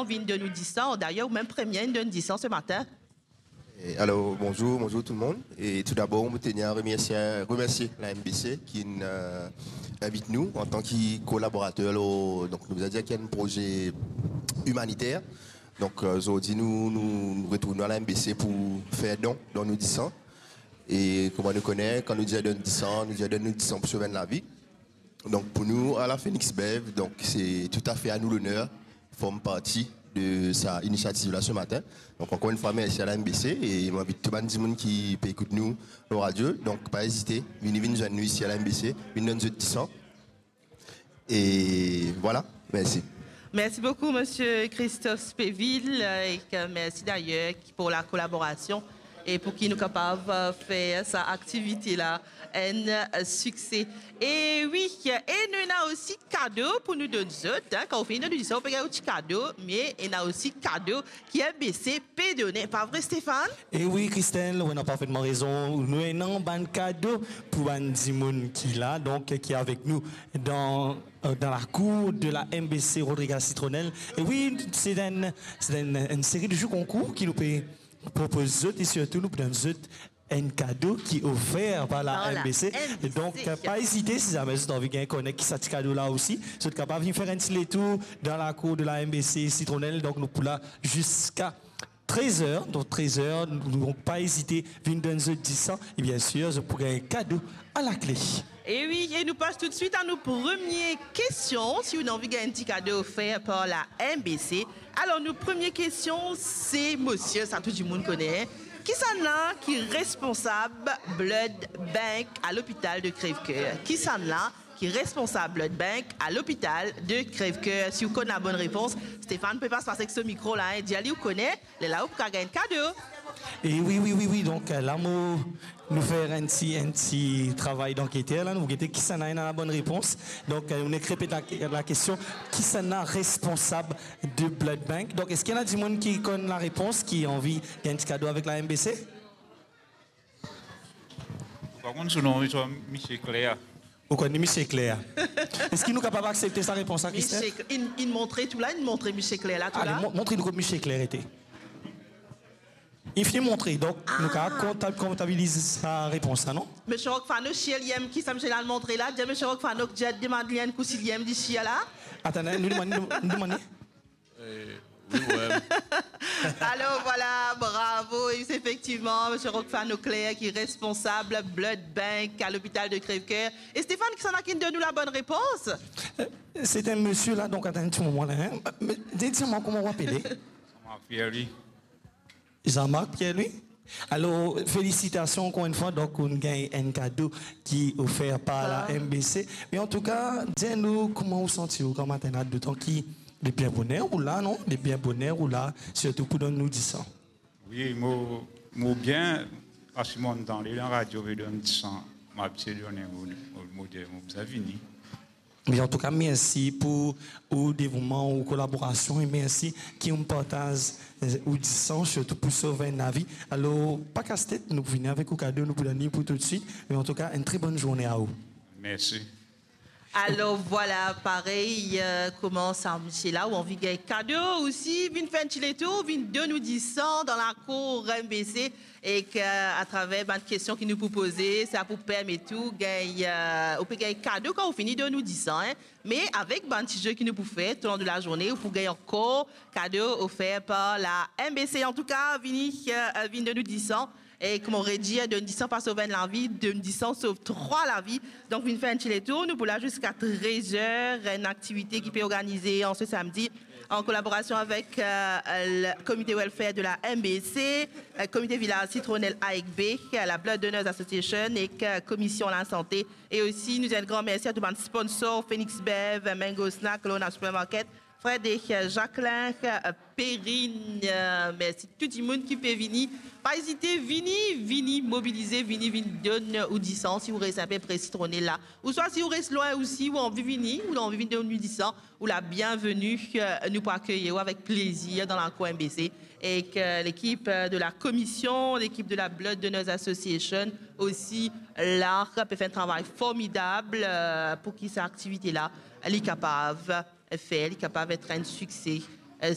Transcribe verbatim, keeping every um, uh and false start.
vinn donn nou disan. Dayer, ou mem premie inn donn disan se matin. E alor, bonzour, bonzour tout le monde. E tou dabor, mo tenir a remersie, remersie la M B C ki inn, euh, invit nou antan ki kolaborater lor, donk nou bizin dir ki enn proze imaniter. Donk, euh, zordi nou, nou, nou retrouv nou a la M B C pou fer don, don nou disan. E kouma nou kone, kan nou dir donn disan, nou dir donn nou disan pou sov enn lavi. Donk pou nou, a la Phoenix Bev, donk se toutafe a nou loner form parti de sa inisiativ la se matin. Donk ankor enn fwa, mersi a la M B C e mo invit tou bann dimoun ki pe ekout nou lor radio, donk pa ezite, vini, vinn zwenn nou isi a la M B C, vinn donn zot disan. E vwala, mersi. Mersi boukou, Misie Christophe Spéville, e mersi dayer pou la kolaborasion e pou ki nou kapav, euh, fer sa aktivite la enn, euh, sikse. E wi, e nou ena osi kado pou nou donn zot, hein. Kan ou fini donn nou disan, ou pe gagn ou ti kado, me ena osi kado ki M B C pe done, pa vre, Stéphane? E wi, Christelle, ou ena parfetman rezon. Nou ena bann kado pou bann dimoun ki la, donk, ki avek nou dan, euh, dan lakour de la M B C Rodriguez Citronelle. E wi, se enn, se enn, enn seri de jou konkour ki nou pe propoz zot e sirtou nou pe donn zot enn kado ki ofer par la M B C. Donk, pa ezite, si zame zot anvi gagn kone ki sa ti kado la osi, zot kapav vinn fer enn ti letour dan lakour de la M B C Citronelle. Donk, nou pou la ziska trez er. Donk, trez er, donk pa ezite, vinn donn zot disan. E bien sir, zot pou gagn kado alakle. E wi, e nou pas toutswit a nou premie kestion, si ou anvi gagn enn ti kado ofer par la M B C. Alor, nou premie kestion, se, misie, sa tou dimoun kone, hein. Kisannla ki responsab blood bank a lopital de Crèvecoeur? Kisannla ki responsab blood bank a lopital de Crèvecoeur? Si ou konn la bonn repons, Stéphane pe pas, pas ek so mikro la, hein, dir li ou kone, lerla ou pou gagn kado. E wi, wi, wi, wi, donk, euh, la mo, nou fer enn ti, enn ti travay danketer la, nou gete kisannla ena la bonn repons. Donk, euh, nou nek repet la, la kestion, kisannla responsab de blood bank? Donk, eski ena dimoun ki konn la repons, ki anvi gagn ti kado avek la M B C? Par kont, so nom, li se Misie Claire. Ou konn li, Misie Claire? Eski nou kapav aksepte sa repons la, Christelle? Misie Cl-, inn, inn montre tou la, inn montre Misie Claire la, tou la. Ale, mo-, montre nou kot Misie Claire ete. Li fini montre, donk nou kapav kontab-, kontabiliz sa repons la, non? Misie Rockfano, si li enn ki sa misie la montre la, dir Misie Rockfano, dir, demann li enn kou si li enn isi la. Atann, nou demann, nou demann li. Eh, wi, wi. Alor, vwala, bravo. E se efektivman Misie Rockfano Claire ki responsab blood bank a lopital de Crèvecoeur. E Stéphane, kisannla ki donn nou la bonn repons? Euh, se enn misie la, donk, atann enn ti moman la, hein. Me, di, dir mwa kouma ou apele? Jean-Marc Pierre-Louis. Jean-Marc Pierre-Louis. Alor, felisitasion ankor enn fwa, donk, ou gagn enn kado ki ofer par la M B C. Me antouka, dir nou kouma ou santi ou gramatin la, dotan ki depi bien boner ou la, non? Depi bien boner ou la, sirtou pou donn nou disan. Wi, mo, mo bien, paski mo antan dan radio, pe donn disan, mo abitie donn, mo, mo, mo dir, mo bizin vini. Me antouka, mersi pou ou devouman, ou kolaborasion, e mersi ki ou partaz, eh, ou disan, sirtou pou sov enn lavi. Alor, pa kas tet, nou pou vini avek ou kado, nou pou donn li pou toutswit. Me antouka, enn tre bonn zourne a ou. Mersi. Alor, vwala, parey, eh, kouma sa misie la, ou anvi gagn kado osi, vinn fer enn ti letour, vinn donn ou disan dan lakour M B C. Ek, eh, atraver bann kestion ki nou pou poze, sa pou permet ou gagn, eh, ou pe gagn kado kan ou fini donn ou disan, hein. Me avek bann ti ze ki nou pou fer toulong de lazourne, ou pou gagn ankor kado ofer par la M B C. Antouka, vini, eh, vinn donn ou disan. E kouma mo redir, donn disan pa sov enn lavi, donn disan sov trwa lavi. Donk, vinn fer enn ti letour, nou pou la ziska trez er, enn aktivite ki pe organize an se samdi an kolaborasion avek, eh, le Comité Welfare de la M B C, eh, Comité Village Citronelle A ek B, eh, la Blood Donors Association ek, eh, Komision Lasante. E osi, nou dir enn gran mersi a tou bann sponsor, Phoenix Bev, Mango Snack, Lona Supermarket, Fred ek, eh, Jacquelin, eh, Perrine, eh, mersi tou dimoun ki pe vini. Pa ezite, vini, vini mobilize, vini, vinn donn ou disan si ou res inpe pre Citronelle la. Ouswa si ou res lwin osi, ou anvi vini, ou anvi vinn donn ou disan, ou la bienveni, eh, nou pou akeyir ou avek plezir dan lakour M B C. Ek, eh, lekip, eh, de la komision, lekip de la Blood Donors Association osi la pe fer enn travay formidab, eh, pou ki sa aktivite la, li kapav fer, li kapav et enn sikse, eh,